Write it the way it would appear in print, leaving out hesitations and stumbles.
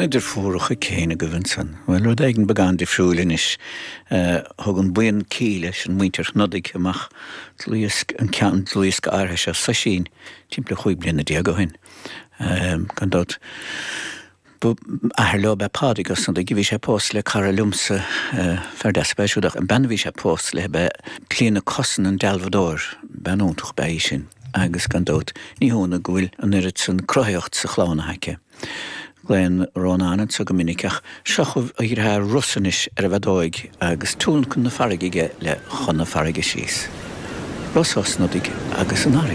Na deirfiúracha Kane agaibh ansan. Bhuel, rud éigin beagán difriúil anois. Thug an buíon Kíla, sin muintir Shnodaigh, amach dlúthdhiosca, an ceann, dlúthdhiosca áirithe seo, Soisín, timpeall 15 bliana ó shin. Gan dabht, ba athair leo ab ea Pádraig Ó Snodaigh, bhí sé pósta le cara liomsa, fear deas ab ea siúd, ach an bean a bhí sé pósta léi ab ea Clíona Cussen, an dealbhadóir, bean iontach ab ea í sin, agus gan dabht, ní hionadh go bhfuil an oiread san cruthaitheacht sa chlann aici. Glaonn Rónán anso go minic ach seo chugaibh a dheartháir Russ anois ar an bhfeadóig agus tionlacan na farraige aige le Chun na Farraige Síos. Ross Ó Snodaigh agus an Fharraige.